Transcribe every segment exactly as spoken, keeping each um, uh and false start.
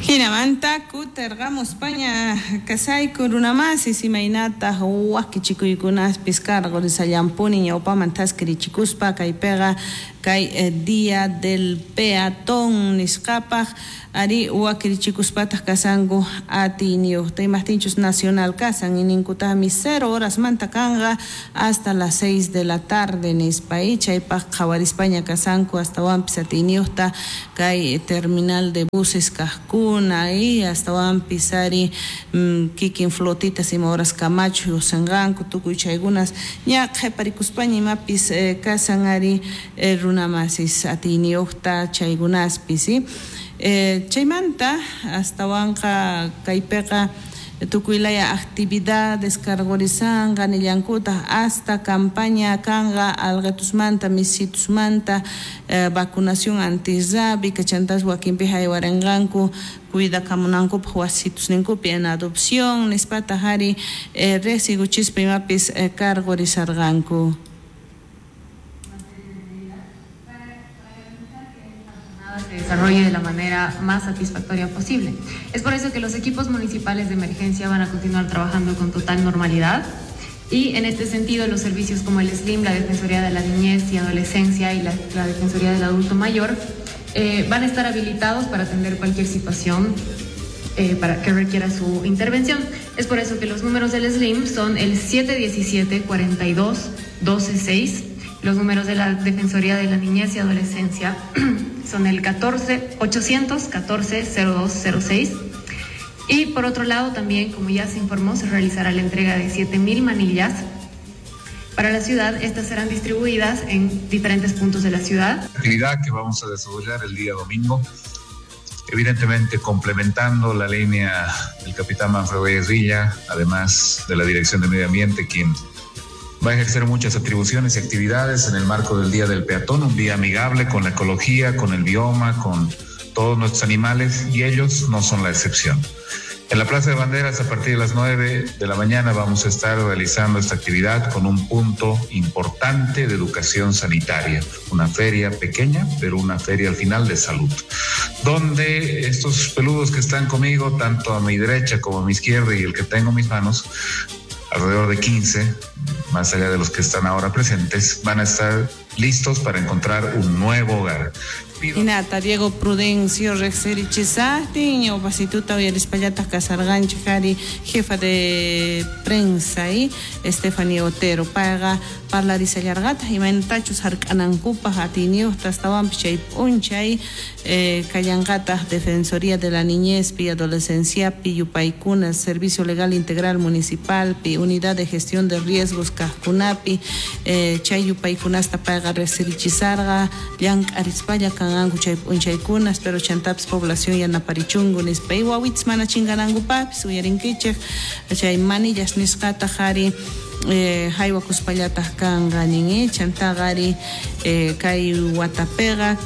Hinamanta kutirqamuspaña kasayku runamasis imaynataq wakichikuykunaspis karqurisallampuni ñawpaman thaskirichikuspa kaypiqa kay Día del Peatón nisqapaq ari wakirichikuspataq kasanku atiyniyuqta imaqtinchus nacional kasan ninkutaqmi cero horasmanta kanqa hasta las seis de la tarde nispa y chaypaq qhawarispaña kasanku astawanpis atiyniyuqta kay terminal de buses kaqkuna y astawanpis ari kikin flotitas ima horas kamachu lluqsinqanku tukuy chaykunas ña qhiparikuspaña imapis kasan ari runamasis atiyniyuqta chaykunaspis eh, chaymanta astawanqa kaypiqa tukuylaya actividades karqurisanqa nillankutaq hasta campaña kanqa alqatusmanta misitusmanta eh, vacunación antirrábica chantas wakinpi haywarinqanku cuidakamunankupaq wasitusninkupi en adopción nispataq ari eh, riqsikuchispa imapis eh, karqurisarqanku. Se desarrolle de la manera más satisfactoria posible. Es por eso que los equipos municipales de emergencia van a continuar trabajando con total normalidad y en este sentido los servicios como el SLIM, la Defensoría de la Niñez y Adolescencia y la, la Defensoría del Adulto Mayor eh, van a estar habilitados para atender cualquier situación eh, para que requiera su intervención. Es por eso que los números del SLIM son el siete diecisiete, cuarenta y dos, doce, seis. Los números de la Defensoría de la Niñez y Adolescencia son el catorce, ochocientos catorce, cero dos cero seis. Y por otro lado también, como ya se informó, se realizará la entrega de siete mil manillas para la ciudad. Estas serán distribuidas en diferentes puntos de la ciudad. Actividad que vamos a desarrollar el día domingo, evidentemente complementando la línea del capitán Manfredo Villa, además de la Dirección de Medio Ambiente, quien va a ejercer muchas atribuciones y actividades en el marco del Día del Peatón, un día amigable con la ecología, con el bioma, con todos nuestros animales, y ellos no son la excepción. En la Plaza de Banderas, a partir de las nueve de la mañana, vamos a estar realizando esta actividad con un punto importante de educación sanitaria, una feria pequeña, pero una feria al final de salud, donde estos peludos que están conmigo, tanto a mi derecha como a mi izquierda y el que tengo en mis manos, alrededor de quince, más allá de los que están ahora presentes, van a estar listos para encontrar un nuevo hogar. Hinata Diego Prudencio riqsirichisaqtin ñawpasituta uyarispallataq kasarqanchik ari jefa de prensa y Stephanie Otero payqa parlarisallarqataq imaynatachus hark'anankupaq atiyniyuqta astawanpis chay p'unchay eh, kallanqataq Defensoría de la Niñezpi Adolescenciapi yupaykuna Servicio Legal Integral Municipalpi Unidad de Gestión de Riesgos kaqkunapi eh, chay yupaykunasta payqa riqsirichisarqa llank'arispalla kanqanku chay p'unchaykunas pero chantapis población yanaparichunku nispa y wawitas mana chinkanankupapis uyarinkichik chay manillas nisqataq ari eh, haywakuspallataq kanqa nin chantaqa ari eh, kay watapiqa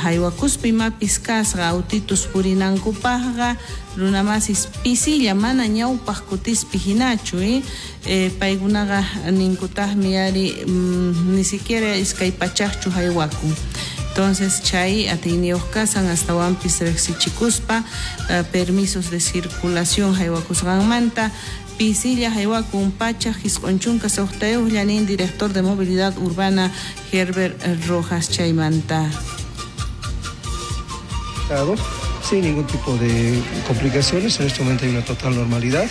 haywakuspa imapis kasqa autitus purinankupaqqa runamasis pisilla mana ñawpaq kutispi hinachu eh? Eh, paykunaqa ninkutaqmi ari mm, ni siquiera iskay pachaqchu haywakun. Entonces chay atiyniyuq kasan astawanpis riqsichikuspa uh, permisos de circulación haywakusqanmanta pisilla haywakun pachaq isq'un chunka suqtayuqlla nin director de movilidad urbana Herbert Rojas chaymanta. Sin ningún tipo de complicaciones, en este momento hay una total normalidad.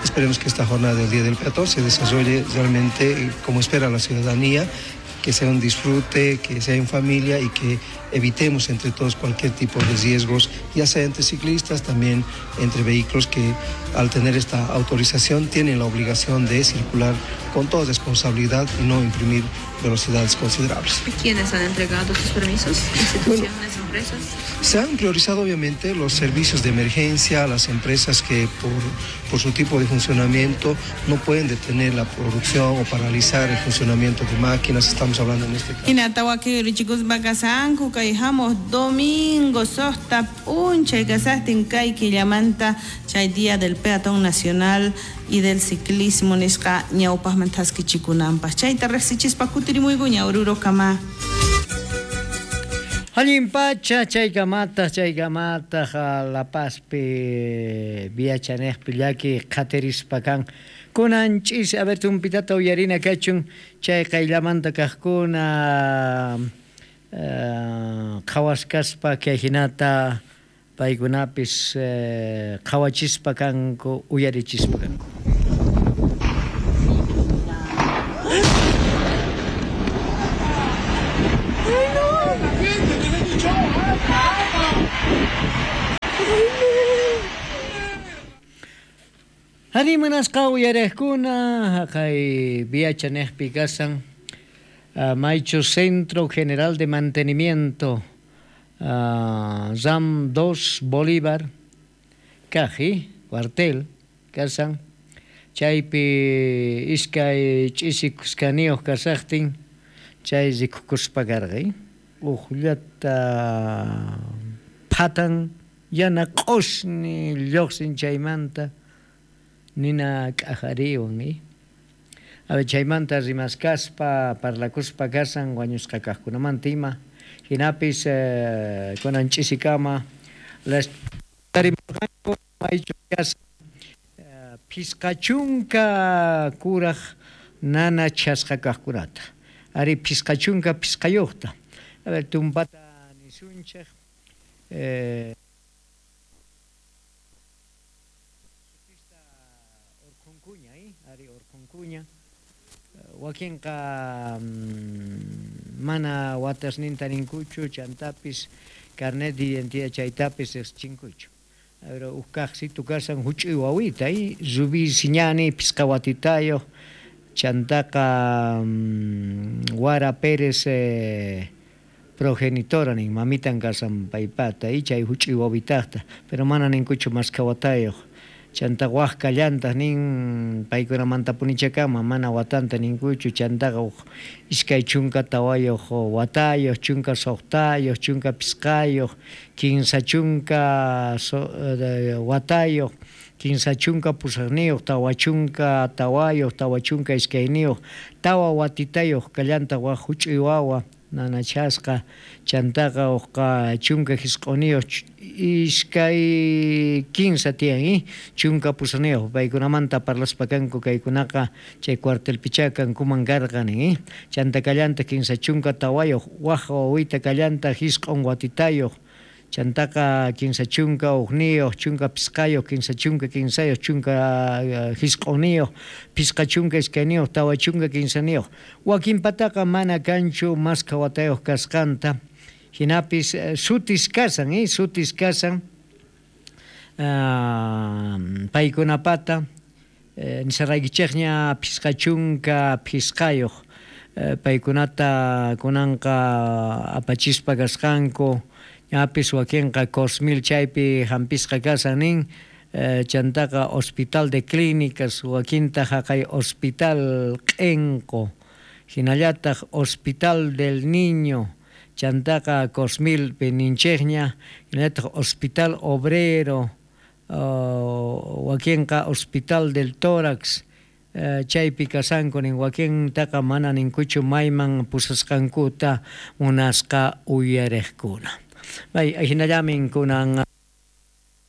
Esperemos que esta jornada del Día del Peatón se desarrolle realmente como espera la ciudadanía, que sea un disfrute, que sea en familia y que evitemos entre todos cualquier tipo de riesgos, ya sea entre ciclistas, también entre vehículos que al tener esta autorización tienen la obligación de circular con toda responsabilidad y no imprimir velocidades considerables. ¿Quiénes han entregado sus permisos? ¿Instituciones, bueno, empresas? Se han priorizado obviamente los servicios de emergencia, las empresas que por, por su tipo de funcionamiento no pueden detener la producción o paralizar el funcionamiento de máquinas, estamos hablando en este caso. Hinatawakiurichikuspa kay hamuq domingo suqta p'unchay kasaqtin kay killamanta chay Día del Peatón Nacional y del Ciclismo nisqa ñawpaqman thaskichikunanpaq chayta riqsichispa kutirimuykuña Oruro kama. Allin pacha chaykamata chaykamata La Pazpi viachanejpi llaki qhatirispa kan kunan ch'isi a ver tumpitata uyarina kachun chay qayllamanta kaqkuna qhawaskaspa kay hinata paykunapis qhawachispa kanku uyarichispa kanku. Ari munasqa uyariqkuna haqay viachanejpi kasan maychu Centro General de Mantenimiento uh, RAM dos Bolívar kaji cuartel kasan chaypi iskay ch'isi kuskaniyuq kasaqtin chay rikukuspa karqay uqllata phatan yana q'usni lluqsin chaymanta nina k'ajariwan eh? A ver, chaymanta rimaskaspa parlakuspa kasan wañusqa kaqkunamanta ima hinapis eh, kunan ch'isikama las tarimurqanku maychu kasan eh, phisqa chunka kuraj nana chasqa kaqkunata ari phisqa chunka phisqayuqta a ver tumpata nisunchej eh, wakinqa mana watasninta ninkuchu chantapis carnet de identidad chaytapis riqchinkuchu. Pero uj kaqsitu kasan huch'uy wawita y Rubí Siñani phisqa watitayuq chantaqa Wara Pérez eh, progenitora nin mamitan kasan paypata y chay huch'uy wawitaqta pero mana ninkuchu maskha watayuq. Chanta waj kallantaq nin paykunamanta punichakama mana watanta ninkuchu chantaqa uj iskay chunka tawayuq watayuq chunka suqtayuq chunka phisqayuq kinsa chunka so, watayuq kinsa chunka pusaqniyuq tawa chunka tawayuq tawa chunka iskayniyuq tawa watitayuq kallantaq waj huch'uy wawa nanachasqa chantaqa uqqa chunka hisq'uniyuq iskay kinsa tiyan eh? Chunka pusaqniyuq paykunamanta parlaspa kanku kaykunaqa chay cuartelpichá kankuman karqan eh? Chanta kallanta kinsa chunka tawayuq waj wawita kallanta hisq'un watitayuq chantaqa kinsa chunka uqniyuq chunka phisqayuq kinsa chunka kinsayuq chunka hisq'uniyuq phisqa chunka iskayniyuq tawa chunka kinsaniyuq wakinpataqa mana kanchu maskha watayuq kasqanta hinapis sutis kasan eh? Sutis kasan uh, paykunapata eh, nisaraykichikña phisqa chunka phisqayuq eh, paykunata kunanqa apachispa kasqanku ñapis wakinqa Cosmil chaypi hampisqa kasan nin eh, chantaqa Hospital de Clínicas wakinta haqay Hospital Q'enqo hinallataq Hospital del Niño chantaqa Cosmilpi ninchikña hinallataq Hospital Obrero uh, wakinqa Hospital del Tórax eh, chaypi kasanku nin wakintaqa mana ninkuchu mayman pusasqankuta munasqa uyariqkuna. Bay, hinallamin kunan